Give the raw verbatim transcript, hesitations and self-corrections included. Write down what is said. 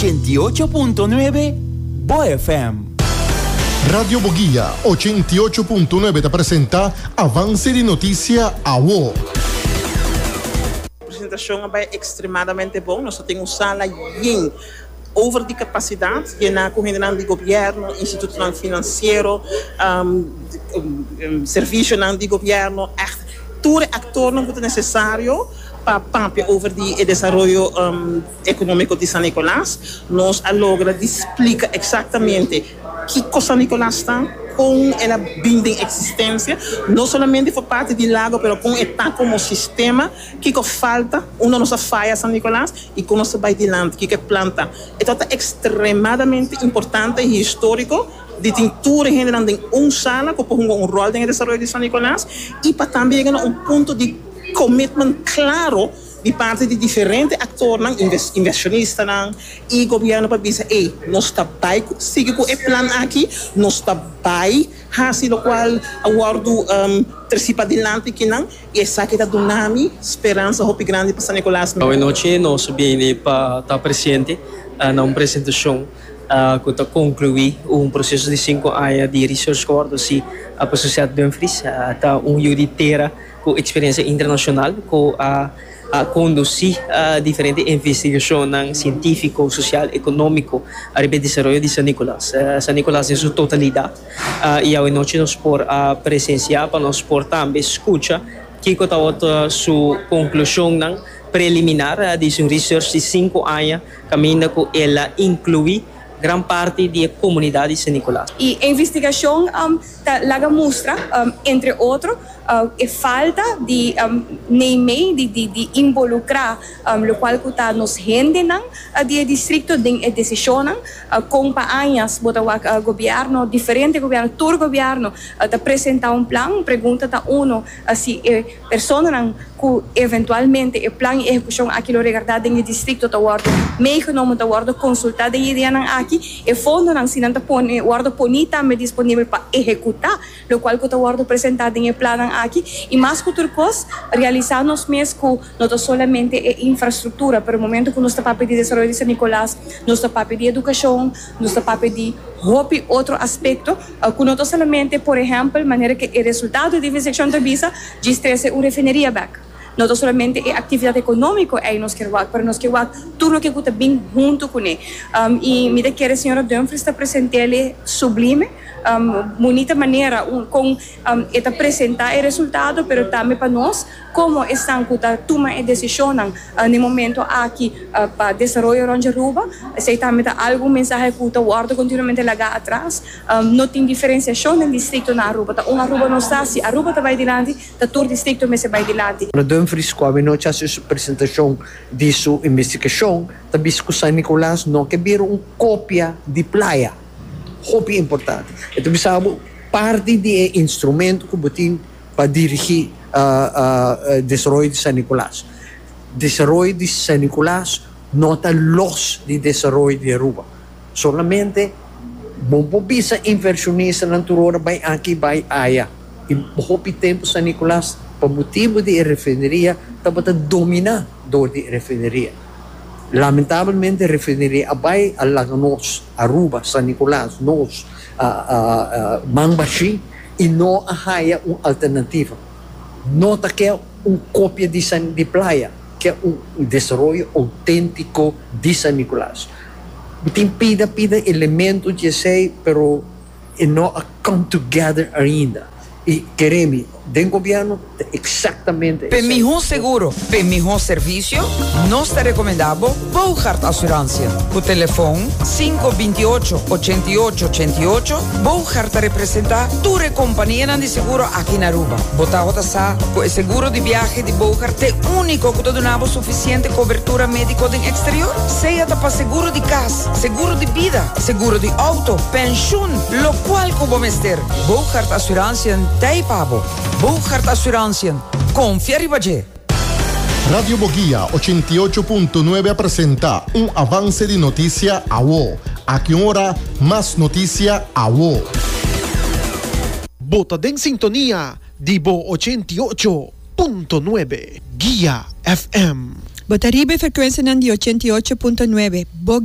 ochenta i ocho punto nuebe Bo F M. Radio Bo Guia ochenta i ocho punto nuebe ta presenta Avance di Noticia Awo. Presentacion a bay extremadamente bon. Nos tin un sala yen over di capacidad, cu hende di gobierno, instituto financiero, um, um, servicio di gobierno, echt tur actor cu ta necesario pa papia over di desaroyo um, economico di San Nicolas. Nos a logra di splica exactamente kico San Nicolas ta, con el a bin den existencia, no solamente pa parti di Lago, pero con e ta como sistema, kico falta, unda nos a faya San Nicolas y con nos ta bay dilanti, kico plan ta. E ta extremadamente importante y historico di tin tur hende den un sala cu un rol den desaroyo di San Nicolas y pa tambe yega na un punto di commitment cla di parti di diferente actor, inversionista y gobierno pa bisa: "Hey, nos ta bay sigui cu e plan aki, nos ta bay haci locual a wordo um, treci dilanti akinan", y esaki ta duna mi speransa hopi grandi pa San Nicolas. Bon nochi, nos a bin pa ta presente uh, na un presentacion uh, cu ta conclui un proceso di cinco aña di research cu si a Sociedad Dumfries, uh, ta un di tera cu experiencia internacional cu a a conduci uh, diferente investigacion cientifico, social, economico riba desaroyo di San Nicolas. Uh, San Nicolas den su totalidad. Uh, y anochi nos por uh, presencia pa nos por tambe scucha kico ta su conclusion preliminar uh, di su research di cinco aña, caminda cu el a inclui gran parti di e comunidad di San Nicolas. E investigacion um, ta laga mustra, um, entre otro, uh, e falta di um, neem di, di, di involucra um, locual cu ta nos hendenan uh, di distrito den e decision uh, con pa añas bo ta wak uh, gobierno, diferente gobierno, tur gobierno uh, ta presenta un plan. Pregunta ta uno uh, si eh, personanan cu eventualmente e plan y ehecucion aki lo regarda den distrito ta wordo meegenomen, ta wordo consulta den ideanan aki e fondonan si nan ta pone wordo poni tambe disponibel pa ehecuta locual cu ta wordo presenta den e plan aki. Y mas cu tur cos, realisa nos mes cu no ta solamente e infrastructura, pero momento cu nos ta papia di desaroyo di San Nicolas, nos ta papia di educacion, nos ta papia di hopi otro aspecto, uh, cu no ta solamente, por ehempel, manera cu e resultado di investigacion ta bisa, di trece un refineria back. No ta solamente e actividad economico ey nos kier wak, pero nos kier wak tur loke ta bin hunto cu ne. Um, y mi ta kere señora Dumfries ta present'e sublime, um, bunita manera um, con um, e ta presenta e resultado, pero tambe pa nos, como esnan cu ta tuma e decision uh, na momento aki uh, pa desaroyo di Aruba, esey tambe ta algun mensahe cu ta wordo continuamente laga atras. Um, no tin diferenciacion den distrito na Aruba, ta un Aruba nos ta. Si Aruba ta bay dilanti, ta tur distrito mester bay dilanti. Dumfries, cu anochi a haci presentacion di su investigacion, ta bisa cu San Nicolas no kier bira un copia di Playa. Hopi importante. Anto, sabi, parti di instrumento cu tin pa dirigi uh, uh, desaroyo di San Nicolas. Desaroyo di San Nicolas no ta los di desaroyo di Aruba. Solamente bo por bisa inversionistanan tur ora bay aki, bay aya. Y hopi tempo San Nicolas, pa motibo di refineria, tabata domina door di refineria. Lamentablemente, refineria a bay, a laga nos, Aruba, San Nicolas, nos, uh, uh, uh, man bashi, y no a haya un alternativa. No ta kier un copia di, San, di Playa, kier un, un desaroyo autentico di San Nicolas. Tin pida pida elemento di esey, pero no a come together ainda. Y kere mi, den gobierno, exactamente. Pa miho seguro, pa miho servicio, nos ta recomenda Bogart Assurantie. Cu telefon cinco dos ocho, ocho ocho ocho ocho, Bogart ta representa tur compania di seguro aki na Aruba. Bo ta sa, cu e seguro di biahe di Bogart ta unico cu ta duna suficiente cobertura medico den exterior. Sea pa seguro di cas, seguro di bida, seguro di auto, pensioen, locual cu bo mester. Bogart Assurantie t'ey pa bo. Bogart Assurantie. Confia riba dje. Radio Bo Guia ochenta i ocho punto nuebe presenta un avance di noticia awo. Aki ora, mas noticia awo. Bo ta den sintonia di Bo ochenta i ocho punto nuebe Guia F M. Bo ta riba frecuencia di ochenta i ocho punto nuebe. Bo